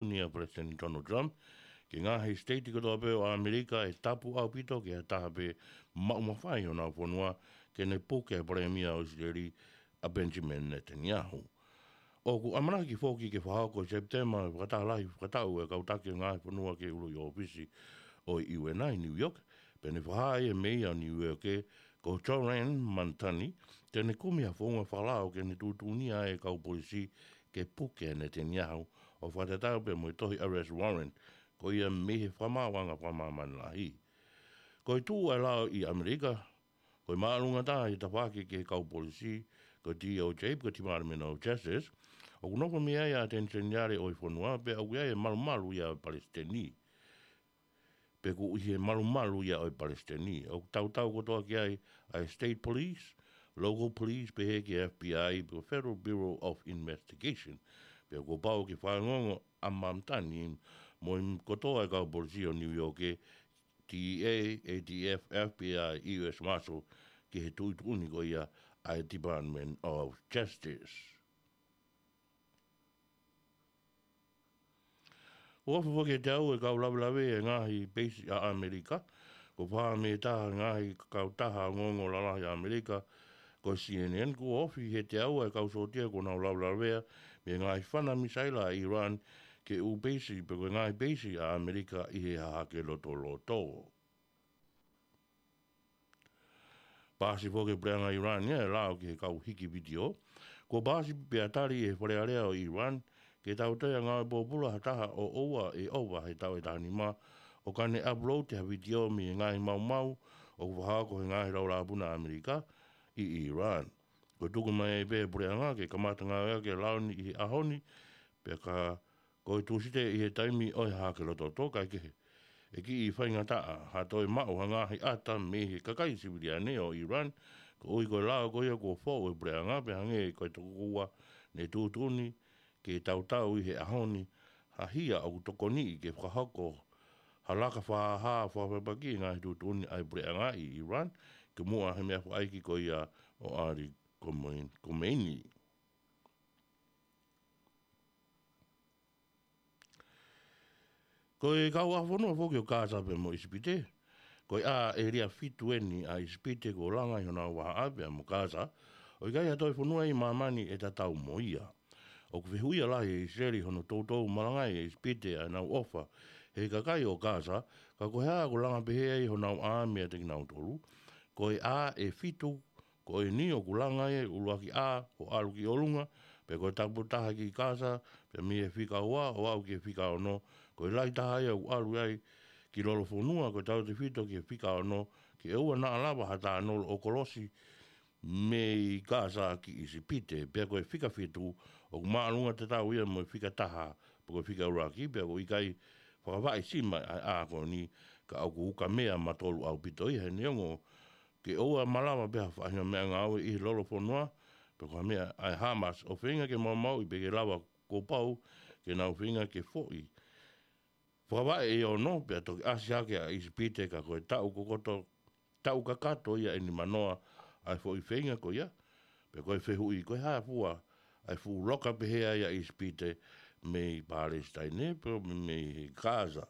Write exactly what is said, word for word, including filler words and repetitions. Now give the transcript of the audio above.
ʻa Palesiteni Donald Trump ki he ngaahi siteiti kotoa pē ʻo ʻAmelika ʻe tapu ʻaupito ki ha taha pē maʻu mafai honau fonua ke ne puke ʻa e Palēmia ʻo ʻIsileli ʻa Benjamin Netanyahu. ʻOku ʻamanaki foki ke fakahoko ʻi Sepitema e fakataha lahi fakataʻu ʻa e kau taki ʻo e ngaahi fonua ki he ʻuluʻi ʻōfisi ʻo e U N ʻi New York, pea ne fakahā ʻe he Meia ʻo New York ko Zohran Mamdani te ne kumi ha founga fakalao ke ne tuʻutuʻuni ʻa e kau polisi ke puke ʻa Netanyahu, ʻo fakatatau pē mo e tohi arrest warrant ko ia mei he Fakamaauʻanga Fakamāmani Lahi. Ko e tuʻu ʻa e lao ʻi ʻAmelika, ko e māʻolunga taha ʻi he tafaʻaki ki he kau polisi, ko e D O J, ko e Department of Justice, ʻoku nofo mei ai ʻa e ʻAteni Seniale ʻo e fonua, pea ʻoku ʻi ai e malumalu ia ʻo e Palesiteni. Pea ʻoku ʻi he malumalu ia ʻo e Palesiteni, ʻoku tautau kotoa ki ai ʻa e State Police, Local Police, pehē ki he F B I, pe ko e Federal Bureau of Investigation. Pea kuo pau ke fakaongoongo ʻa Mamdani mo e kotoa e kau polisi ʻo New York, D E A, A T F, F B I, U S Marshal, ki he tuʻutuʻuni ko ia ʻa e Department of Justice. ʻOku ʻofa foki ʻe he teau e kau lavelave ʻa e ngaahi peisi ʻa ʻAmelika, ko e fā mei he taha e ngaahi kautaha ongoongo lalahi ʻa ʻAmelika, ko e C N N, kuo ofi ʻe he teau ʻa e kau sōtia kuo nau lavelavea mei he ngaahi fana misaila ʻa ʻIulan ki he ʻū peisi pe ko e ngaahi peisi ʻa ʻAmelika ʻi he Hahake Lotoloto. Paasi foki ʻe he puleʻanga ʻIulan ia e lao ki he kau hiki vitiō. Kuo paasi pea tali ʻe he Fale Alea ʻo ʻIulan ke tau toe ngāue pōpula ha taha ʻo ʻoua ʻe ʻova he taʻu ʻe taha nima ʻo ka ne upload ha vitiō mei he ngaahi maumau ʻoku fakahoko ʻe he ngaahi laulāpuna ʻAmelika ʻi ʻIulan. Kuo tuku mai ai pē ʻe he puleʻanga ke kamata ngāueʻaki e lao ni ʻi he ʻaho ni, pea ka ko e Tūsite ʻi he taimi ʻo e Hahake Lotoloto, kaekehe, ʻe kiʻi faingataʻa ha toe maʻu ha ngaahi ʻata mei he kakai siviliane ʻo ʻIulan, koeʻuhi ko e lao ko ia kuo foʻu ʻe he puleʻanga, pea hangē ko e tokua ne tuʻutuʻuni ke tautau ʻi he ʻaho ni ha hia ʻoku tokoniʻi ke fakahoko ha laka fakahā fakafepaki ʻi he ngaahi tuʻutuʻuni ʻa e puleʻanga ʻi ʻIulan, ki muʻa he meʻa fakaʻeiki ko ia ʻo ʻAli Khomeini. Ko e kauʻaho fonua foki ʻo Kasa pea mo ʻIsipite, ko e ʻā ʻēlia fitu eni ʻa ʻIsipite kuo langa ʻi honau vahaʻa pea mo Kasa, ʻo ʻikai ha toe fonua ʻi māmani ʻe tatau mo ia. ʻOku fehuʻia lahi ʻe ʻIsileli hono toutou malangaʻi ʻe ʻIsipite ʻa ʻenau ʻofa he kakai ʻo Kasa, ka ko e hā ʻoku langa pehē ai honau ʻā meiate kinautolu. Ko e ʻā ʻe fitu ko eni ʻoku langa ai e ʻuluaki ʻā ʻo ʻalu ki ʻolunga, pea ko e tapu taha ki Kasa, pea mei he fika ua ʻo aʻu ki he fika ono, ko e lahi taha ia ʻoku ʻalu ai ki lolofonua, ko e tautefito ki he fika ono, ke ʻoua naʻa lava ha tānolo ʻo kolosi mei Kasa ki ʻIsipite, pea ko e fika fitu ʻoku māʻolunga tatau ia mo e fika taha, pe ko e fika ʻuluaki, pea ʻoku ʻikai fakavaʻe sima ʻa e ʻā ko eni, ka ʻoku ukamea matolu ʻaupito ia he neongo ke ʻoua malava pē ha faʻahinga meʻangāue ʻi he lolofonua, pe ko ha meʻa ʻa e Hamas ʻo feinga ke maumauʻi pe ke lava kuo pau ke nau feinga ke foʻi fakavaʻe ʻe ono, pea toki ʻasi hake ʻa ʻIsipite ka ko e taʻu kokoto, taʻu kakato ia ʻe nimanoa ʻa e foʻi feinga ko ia, pea ko e fehuʻi ko e hā fua ʻa e fuʻu loka pehē ai ʻa ʻIsipite mei Palesitaine, pe mei Kasa.